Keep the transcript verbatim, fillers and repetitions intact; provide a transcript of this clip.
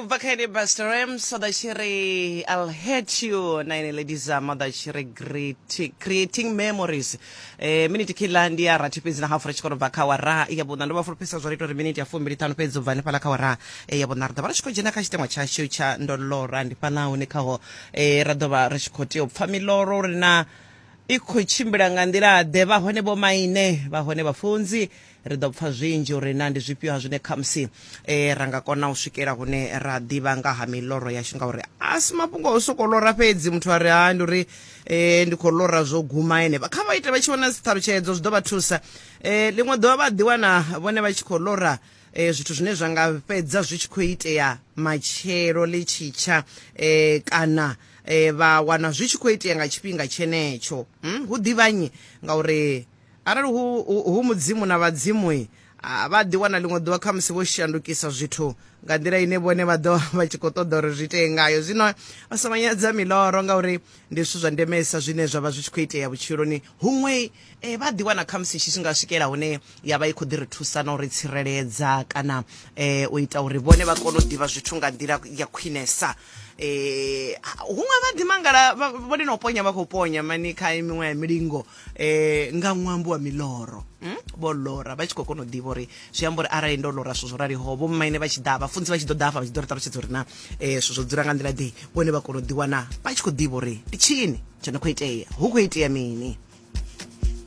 Ubva kha ene Busta Rhymes o ḓa tshi ri I'll hate you, na ene Lady Zama ḓa tshi ri great, creating memories. eh, miniti khiḽa ndi ya rathi fhedzi na hafu ri tshi khou bva kha awara ya vhuṋa. Ndo vha fulufhedzisa zwo ri ita uri miniti ya fumbili ṱhanu fhedzi u bva hanefhaḽa kha awara eh, ya vhuṋa ri ḓo vha ri tshi khou dzhena kha tshiteṅwa tshashu tsha ndolora. Ndi fhaḽa hune khaho eh, ra ḓo vha ri tshi khou tea u pfha miloro uri na i khou tshimbila nga nḓila ḓe, vha hone vho maine, vha hone vhafunzi. Ri ḓo pfha zwinzhi uri na ndi zwifhio ha zwine khamusi eh, ra nga kona u swikela hune ra ḓivha nga ha miloro yashu, ngauri a si mafhungo o sokou lora fhedzi muthu a ri ha ndi uri eh, ndi khou lora zwo guma henefha. Kha vha ite vha tshi wana dziṱhalutshedzo zwi ḓo vha thusa. eh, ḽiṅwe ḓuvha vha ḓiwana vhone vha tshi khou lora eh, zwithu zwine zwa nga fhedza zwi tshi khou itea matshelo ḽi tshitsha, eh, kana eh, vha wana zwi tshi khou itea nga tshifhinga tshenetsho. hmm? Hu ḓivhanyi ngauri arali hu, hu, hu mudzimu na vhadzimu a vha ḓi wana ḽiṅwe ḓuvha khamusi vho shandukisa zwithu nga nḓila ine vhone vha ḓo vha tshi khou ṱoḓa uri zwi itee ngayo. Zwino vha songo nyadza miloro ngauri ndi zwithu zwa ndemesa zwine zwa vha zwi tshi khou itea vhutshiloni. Huṅwe eh, vha ḓi wana khamusi tshi nga swikela hune ya vha i khou ḓi ri thusa na u ri tsireledza kana eh, u ita uri vhone vha kone u ḓivha zwithu nga nḓila ya khwinesa. eh huṅwe vha ḓi mangala vhone na u ponya vha khou ponya mani kha miṅwe ya milingo eh nga ṅwambo wa miloro. mm? Vho lora vha tshi khou kona u ḓivha uri zwi amba uri arali ndo lora zwithu zwo raliho, vho mmaine vha tshi ḓa, vhafunzi vha tshi ḓo ḓa hafha vha tshi ḓo ri ṱalutshedza uri na eh zwithu zwo dzula nga nḓila ḓe, vhone vha kona u ḓiwana vha tshi khou ḓivha uri ndi tshini tsho no khou itea, hu khou itea mini.